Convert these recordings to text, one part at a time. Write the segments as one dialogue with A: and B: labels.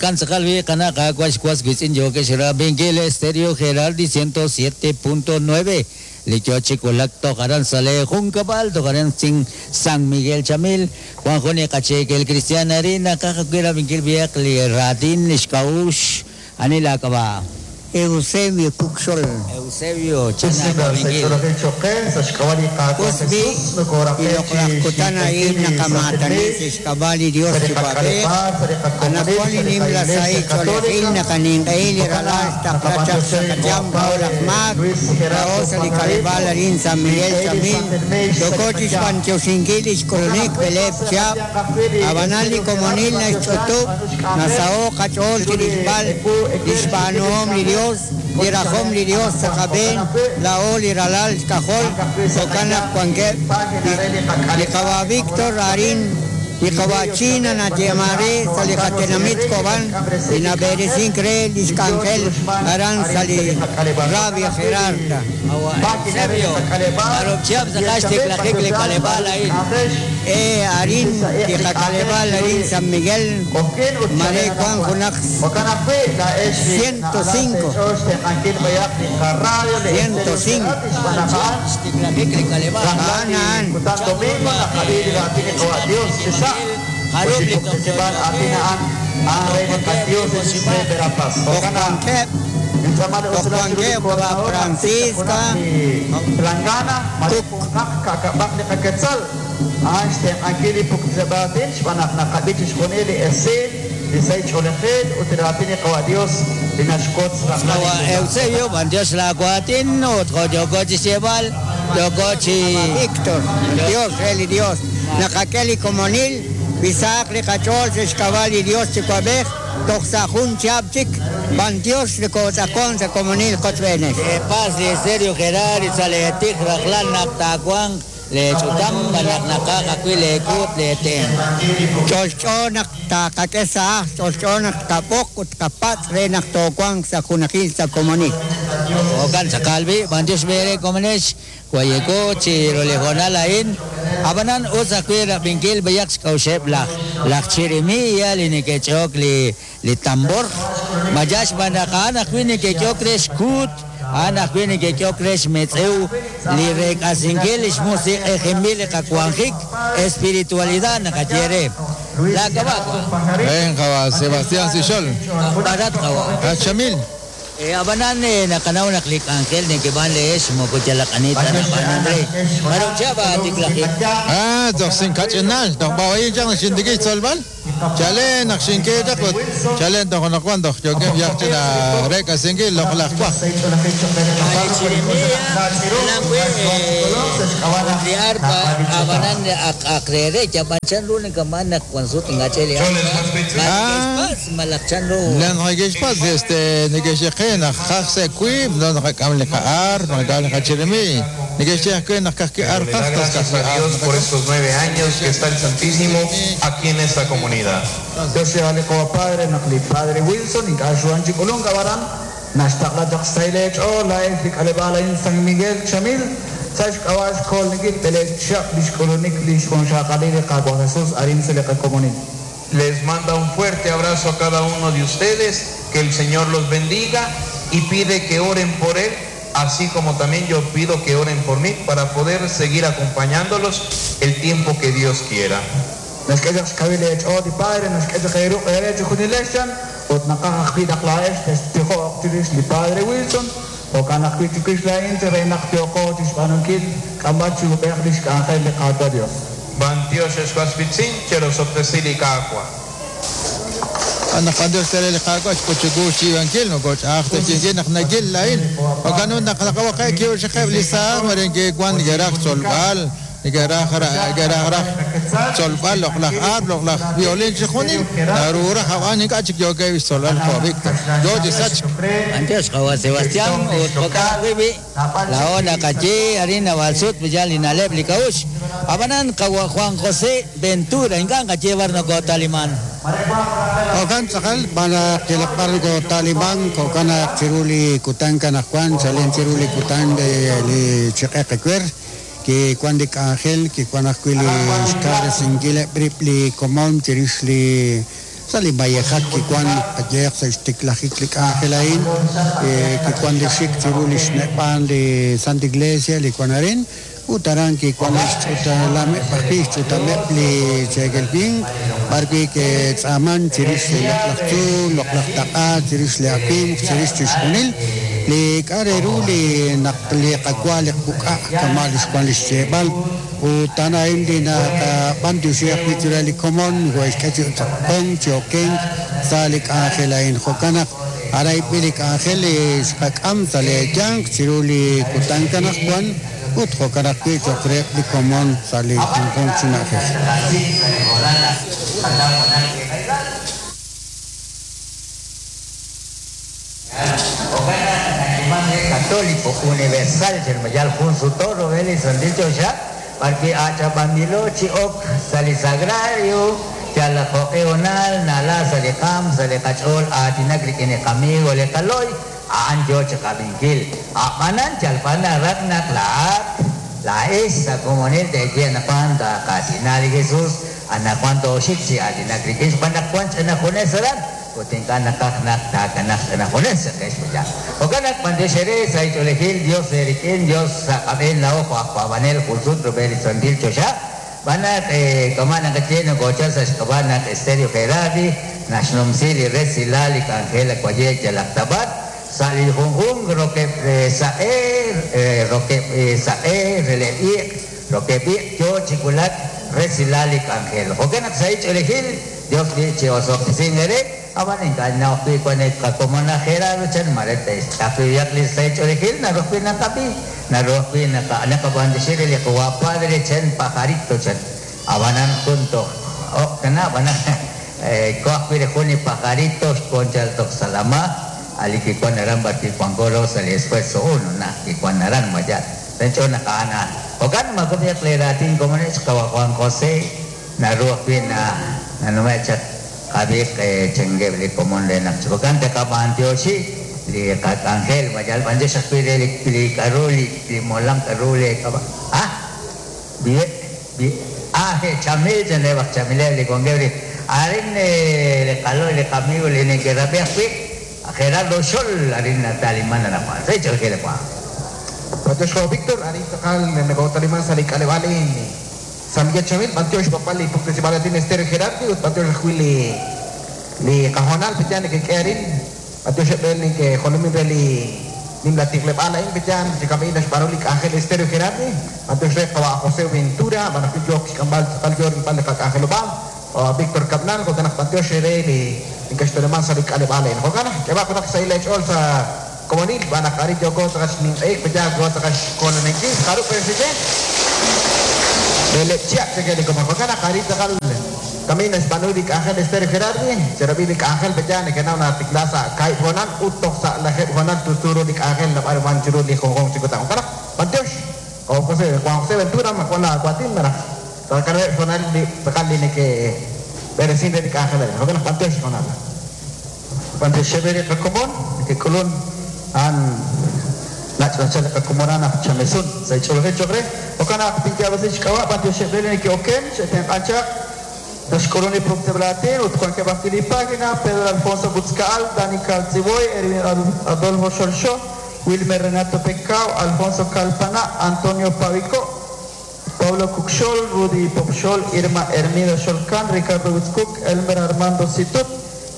A: Jo'kan tz'aqal wi qana' Qaawa' xwas wiitz'in yookex rab'inkil Estéreo Geraldi 107.9 li yo chi wulak toj aran sa' lee junkab'al toj aran sin San Miguel Chamil. Wan jun li qacheekel kristiaan arin naqaj ajwi' rab'inkil b'ihaq li raatin li xk'a'uxl. Ani laak'ab'a'?
B: Eusebio Cucxol.
A: Eusebio, chan aawab'inkil.
B: Us b'i', li loq'laj kutan a'in naqamaatani sa' xk'ab'a' li Dios Yuwa'b'ej, anaqwan li nimla sahil ch'oolejil naqaninq'ehi li Ralal xtaqla chaq sa' qayanq laa'o laj maak, laa'o sa' li k'aleb'aal arin San Miguel Chamil, yooko chixb'antioxinkil lix k'ulunik b'eleeb' chihab', ab'anan li komonil naxch'utub', Nasaho' qach'ool chirilb'al lix b'aanuhom li Dios, li rajom li Dios sa' qab'een, laa'o li ralal xk'ajol, jo'kan naq wankeb' li qawa' Victor arin, li qawa' China nayeeman re sa' li qatenamit Cobán, li nab'eresink re lix k'anjel aran sa' li Rabia Gerarda.
A: Qawa' Eusebio, jarub' chihab' tz'aqal xtiklajik li k'aleb'aal a'in?
B: E arin li qak'aleb'aal arin San Miguel, mare wank junaq 105. 105. A'an a'an. Toj wankeb', toj wankeb' qawa' Francisca, Kuk.
C: A'an xtenq'ankil li puktzeb'al aatin xb'aan naq naqab'i chixjunil li esil, li sahil ch'oolejil ut li raatin li Qawa' Dios li naxwotz rajlal li
A: Qawa'
C: kutan.
A: Eusebio, b'antiox laa waatin ut jo' yooko chi xyeeb'al, yooko chi.
B: Víctor, Dios re li Dios, naqak'e li komonil, wi sahaq li qach'ool sa' xk'ab'a' li Dios Yuwa'b'ej toj sa' jun chihab' chik, b'antiox nokotz'aqon sa' komonil qochb'eenex.
A: Paz li Estéreo Gerard sa' leetij rajlal naq taawanq leech'utam malaj naqaj ajwi' leekuut leetenq'.
B: Ch'olch'o naq taqak'e sa' ajl, ch'olch'o naq tqab'oq ut tqapatz' re naq toowanq sa' junajil sa' komonil.
A: Jo'kan tz'aqal b'i', b'antiox b'e re komonex, wayeko chi ru li hoonal a'in, ab'anan us ajwi' rab'inkil b'ayaq xk'a'uxeb' laj laj chirimiiya li neke'ch'e'ok li li tambor, ma yal xb'aan naq a'an ajwi' neke'k'ehok re xkuut, a'an ajwi' neke'k'ehok re xmetz'ew li reek'asinkil li xmusiq'ejinb'il li qawanjik, espiritualidad naqaye re. Laak'ab'a' wa'.
D: Ven, qawa' Sebastián Sixol.
A: Aj b'arat qawa'.
D: Aj Chamil.
A: Ab'anan naqanaw naq li k'anjel nekeb'aan leex moko yalaq ani ta nab'aanun re. Jarub' chihab' aatiklajik?
D: Ah, toj sinkach'inal, toj b'awa'in chaq naq xintikib' xtzolb'al. Chalen naq xink'e chaq ut chalen toj anaqwan toj yookeb' yaj china reek'asinkil loq'laj waj.
A: Li chirimia jalan wi' ut li arpa ab'anan ak ak re re yab'an chan ru nakab'aan naq wan sut ink'a' ch'e li arpa ma neke'xpatz' malaj chan ru.
D: Naq neke'xpatz' este neke'xye qe naq qaj sa' wiib' no naqak'am li qa'arp naqak'am li qachirimiiy. Neke'xye ajwi' naq ka'ajwi'
E: Dándole
D: arp qaj tas
E: gracias a
D: ka'ajwi' arp
E: Dios por
D: naqak'am.
E: estos 9 años que está el Santísimo aquí en esta comunidad.
C: Dios sea li Qawa' Padre naq li Padre Wilson ink'a' xruhan chi k'ulunk ab'aran naxtaqla chaq xsahil eech'ool laa'ex li k'aleb'aal a'in San Miguel Chamil sa' xk'ab'a' xkoolnikil b'eleeb' chihab' li xk'ulunik li xjunxaqalil li Qaawa' Jesús arin sa' li qakomonil.
E: Les manda un fuerte abrazo a cada uno de ustedes, que el Señor los bendiga y pide que oren por él, así como también yo pido que oren por mí para poder seguir acompañándolos el tiempo que Dios quiera.
C: Naxk'e chaq xkawil eech'ool li Padre, naxk'e chaq eeruq' eere chi junilex chan ut naqaj ajwi' naq laa'ex textijo'q chirix li Padre Wilson, jo'kan ajwi' chiwix laa'in chi re naq yooqo chi xb'aanunkil k'amb'al chi ub'ej li xk'anjel li Qaawa' Dios.
E: B'antiox ex was wiitz'in, cherosob'tesi li Qaawa'.
D: Naq b'antiox tere li Qaawa' xk'ut chiwu xyiib'ankil, moko ch'a'aj ta xyiib'ankil naq nagil laa'in. Jo'kan ut naq naqawaqe' ki'uxaqeb' li saaj mare neke'wan neke'raj xtzolb'al, neke'raj neke'raj raj xtzolb'al loq'laj arp, loq'laj violin chi junil, naru raj ab'an ink'a' chik yookeb' xtzolb'al jo' Víctor. Yo chi sachk.
A: B'antiox qawa' Sebastián ut jo'kan ajwi' b'i' laa'o naqaye arin naab'al sut yal li na'leb' li k'a'uxl. Ab'anan qawa' Juan José Ventura ink'a' nqaye b'ar nokotaliman.
F: Jo'kan tz'aqal b'an naq yalaq b'ar nokotaliman, jo'kan naq chiru li kutan kanaqwan, chalen chiru li kutan li chiq'eq ewer, kiwan li k'anjel, kiwan ajwi' li xkawresinkileb' rib' li komon chirix li Sa' li mayejak kiwan qayehaq sa' xtiklajik li k'anjel a'in, kiwan li xik chiru li xneb'aan li Santa Iglesia li wan arin, ut aran kiwan li xch'utalameb' ajwi' xch'utameb' li cheekel winq, b'ar wi' ke'tz'aaman chirix li loq'laj tzuul, loq'laj taq'a, chirix li awimq, chirix chixjunil li k'a' re ru li naq li qawa li quk'a' kama' li xwan li xyeeb'al. Ut a'an a'in li naqab'antioxi ajwi' chiru li komon nokohe'xk'e chi tz'aqonk, chi okenk sa' li k'anjel a'in. Jo'kan naq arayb'il li k'anjel li xqak'am sa' lee yanq chiru li kutan anaqwan ut jo'kan ajwi' cho'q reheb' li komon sa' li junjunq chi na'ajej.
A: Católico Universal Chermayal jun suto rub'el li Santil Choxa b'arwi' ach'ab'anb'ilo chi ok sa' li sagrario yal jo'q'e honal nala sa' li qaam sa' li qach'ool aatinak rik'in li qamigo li qalo'y a'an yo chi qab'inkil a'b'anan yalb'al naraj naq laa'at laa'ex sa' komonil teeye anaqwan taaqaatina li Jesús anaqwan tooxik chi aatinak rik'in xb'aan naq wan ch'ina junes aran ut ink'a' naqaj naq taakanaj ch'ina junes chaqex b'ayaq. Jo'kan naq b'antiox eere sa' xch'oolejil Dios eerik'in Dios sa' qab'een laa'o jo' aj paab'anel jun sut rub'el li Santil Choxa b'an naq kama' naqaye nokoochal sa' xk'ab'a' naq Estéreo Gerardi naxnumsi li resilal li k'anjel waye' yalaq ta b'ar sa' li junjunq rokeb' saq'e rokeb' saq'e releb' iq' rokeb' iq' yo chi wulak resilal li k'anjel. Jo'kan naq sa' xch'oolejil Dios li chi osob'tesin eere ab'an ink'a' naw ajwi' wan qakomon aj Gerardo chan mare te'xtz'aqliyaq li sa' xch'oolejil naru ajwi' naqab'i naru ajwi' naqab'antioxi re li qawa padre chan pajarito chan ab'anan junto ok tana ab'anan ko ajwi' re jun li pajarito xkonchal toj Salama ali kiwan aran b'ar kiwanko lo sa' li esfuerzo uno na kiwan aran maya tench'o naqa'ana jo'kan makumiq li raatin komonech qawa Juan José naru ajwi' na nanume' chaq qab'iq chengeb' li komon re naq jo'kan taqab'antioxi li qak'anjel mayal b'antiox ajwi' re li k'aru li molam k'aru li k'ab'a ah bi bi ah chamil chan re b'aj chamileb' li wankeb' li arin li qalo'y li qamigo li neke'rab'i ajwi' Gerardo Xol arin nataliman anaqwan sa' ch'oolejil Juan.
C: B'antiox jo Víctor, arin tz'aqal nokotaliman sa' li k'aleb'aal San Miguel Chamil, b'antiox b'aqb'al li puktesib'al atin Estéreo Gerardi ut b'antiox ajwi' li qajonal petyan nekek'e arin b'antiox eb'el nekejolomin re li nimla tijleb'aal a'in petyan chikam'i naxb'aanu li k'anjel Estéreo Gerardi b'antiox re qawa' José Ventura b'an ajwi' yook xk'amb'al tz'aqal yo rilb'al li qak'anjelob'aal Víctor Cabnal jo'kan naq b'antiox re li ink'axtoleman sa' li k'aleb'aal a'in jo'kan naq k'eb'aq junaq xsahil eech'ool sa' komonil b'an naq arin yooko tz'aqal xninq'eik petyan yooko tz'aqal xkolonenkil jarub' xeche Beleb' chihab' cheke li komon jo'kan naq arin tz'aqal kami naxb'aanu li k'anjel Estéreo Gerardi cherab'i li k'anjel petyan nekenaw natikla sa' kaahib' honal ut toj sa' lajeb' honal tustu ru li k'anjel nab'aruman chiru li junjunq chi kutan jo'kan naq b'antiox José Juan José Ventura makuan la kuatin maraj tz'aqal honal li tz'aqal li neke b'eresin re li k'anjel a'in jo'kan naq b'antiox honal
D: B'antiox xeb'e li qakomon nekek'ulun a'an nach'nachal li qakomonan aj chamesun sa' xch'oolejil cho'q re jo'kan naq tinyaab'asi xk'ab'a' b'antiox xeb'e li neke'oken xe'tenq'an chaq naxk'ulun li pukteb'laatin ut wankeb' ajwi' li página Pedro Alfonso Butzkaal, Dani Caltziboy, Erwin Adolfo Xolxo, Wilmer Renato Pecao, Alfonso Calpana, Antonio Pavico, Pablo Cucxol, Rudy Popxol, Irma Hermida Xolcan, Ricardo Witzcook, Elmer Armando Situt,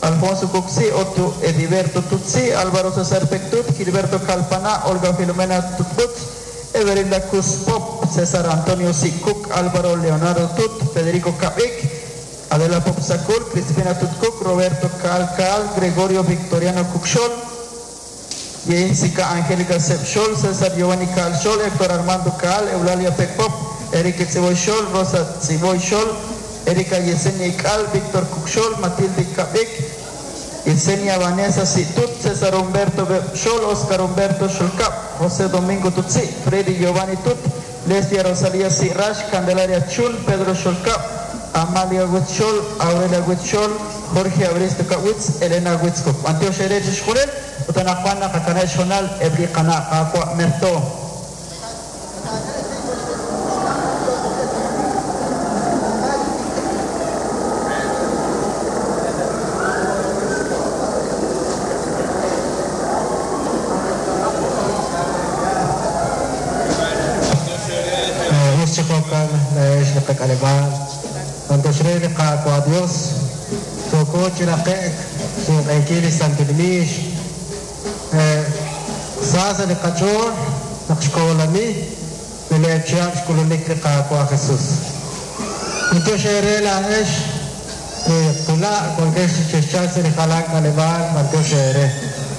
D: Alfonso Cuxi, Otto Ediberto Tutsi, Álvaro César Pectut, Gilberto Calpana, Olga Filomena Tutbut, Everilda Pop, César Antonio Sicuc, Álvaro Leonardo Tut, Federico Cabic, Adela Popsacul, Cristina Tutcook, Roberto Calcal, Gregorio Victoriano Cucxol, Jessica Angélica Sepxol, César Giovanni Calxol, Héctor Armando Cal, Eulalia Pecpop, Erika Tziboy Xol, Rosa Tziboy Xol, Erika Yesenia Ical, Víctor Cucxol, Matilde Cabic, Yesenia Vanessa Situt, César Humberto Xol, Oscar Humberto Xolcap, José Domingo Tutsi, Freddy Giovanni Tut, Lesbia Rosalía Sirash, Candelaria Chul, Pedro Xolcap, Amalia Huitzxol, Aurelia Huitzxol, Jorge Abristo Kawitz, Elena Huitzcoc. Antiox Erech Xjurel, Utanajuana, Jacanel Xonal, Ebri Cana, Aqua Merto.
G: qaYos, yooko chi raqe'k xninq'ehinkil li Santil Miix. Sa sa' li qach'ool naq xkoolani b'eleeb' chihab' xk'ulunik li Qaawa' Jesus. B'antiox eere laa'ex li qula' wankex chi chexchalk sa' li jalan k'aleb'aal, b'antiox eere.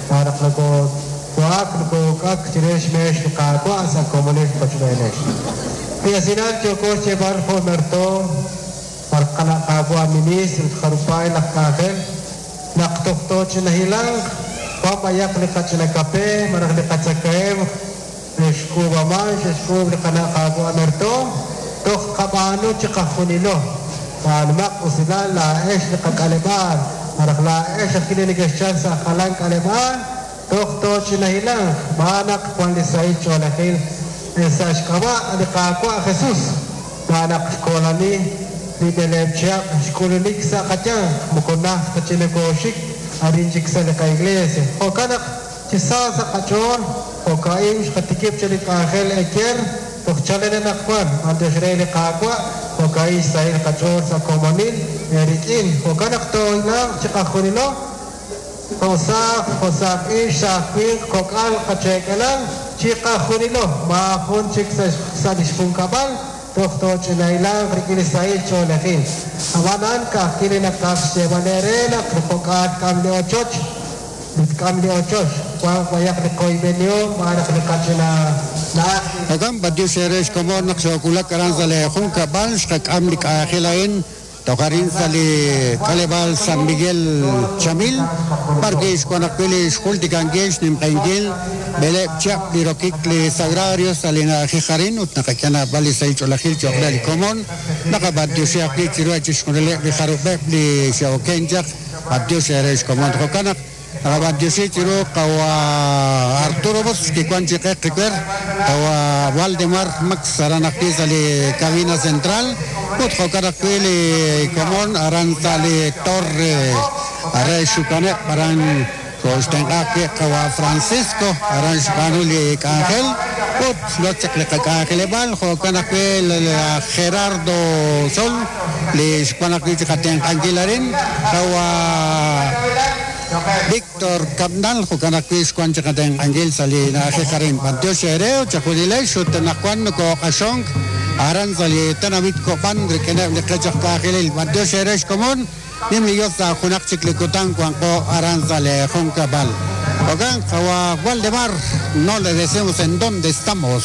G: Xb'aan naq nokowa'ak noko'uk'ak chire xmeex li Qaawa' sa' komonil qochb'eenex. Li esilal yooko xyeeb'al jo' mertoom, malaj qana' Qaawa' ministro ut jarub'paay laj k'anjel, naq toj tooch'inahilanq, wan b'ayaq li qach'ina kape malaj li qatzakahemq xk'uub'aman, xe'xk'uub' li qana' Qaawa' mertoom, toj tqab'aanu chiqajunilo. B'aanumaq usilal laa'ex li qak'aleb'aal, malaj laa'ex ajwi' li nekexchalk sa' jalan k'aleb'aal, toj tooch'inahilanq, xb'aan naq wan li sahil ch'oolejil sa' xk'ab'a' li Qaawa' Jesus, xb'aan naq xkoolani li b'eleeb' chihab' xk'ulunik sa' qayanq, moko najt ta chik nokooxik arin chik sa' li qa'iglesia. Jo'kan naq chi sa sa' qach'ool, jo'ka'in xqatikib' chaq li k'anjel eyer toj chalen anaqwan, b'antiox re li Qaawa', jo'ka'in xsahil qach'ool sa' komonil eerik'in. Jo'kan naq toohilanq chiqajunilo, jo' saaj, jo' saaj ixq, saaj winq, kok'al, qacheek'elal, chiqajunilo, maajun chik sa' li xjunkab'al, toj tooch'inahilanq rik'in li sahil ch'oolejil. Ab'anan ka'ajwi' li naqaj xyeeb'al eere naq jo'k'aal tk'am li ochoch, li tk'am li ochoch, wanq b'ayaq li qoyb'enihom xb'aan naq li qach'ina na'aj li.
F: Jo'kan, b'antiox eere xkomon naq xoowulak aran sa' lee junkab'al, xqak'am li k'anjel a'in toj arin sa' li k'aleb'aal San Miguel Chamil, b'ar wi' xwank ajwi' li xjultikankil xnimq'ehinkil b'eleeb' chihab' li rokik li Sagrario sa' li na'ajej arin ut naqak'e naab'al li sahil ch'oolejil cho'q re li komon. Naqab'antioxi ajwi' chiruheb' chixjunileb' li jarub'eb' li xe'oken chaq, b'antiox eere xkomon. Jo'kan naq naqab'antioxi chiru qawa' Arturo Bosch kiwan chi q'eq qiwer, qawa' Waldemar Max aran ajwi' sa' li cabina central ut jo'kan ajwi' li komon aran sa' li torre re xukaneb' aran xooxtenq'a ajwi' qawa' Francisco aran xb'aanu li k'anjel ut xloch chaq li qak'anjeleb'aal, jo'kan ajwi' laj Gerardo Sol li xwan ajwi' chi qatenq'ankil arin, qawa' Víctor Cabnal, jo'kan ajwi' xwan chi qatenq'ankil sa' li na'ajej arin. B'antiox eere ut chejunilex ut anaqwan nokooq'axonk aran sa' li tenamit Copán rik'ineb' li qech aj k'anjelil. B'antiox eere xkomon. Nim li Yos sa' junaq chik li kutan wanqo aran sa' lee junkab'al. Jo'kan, qawa' Waldemar, no le decimos en dónde estamos.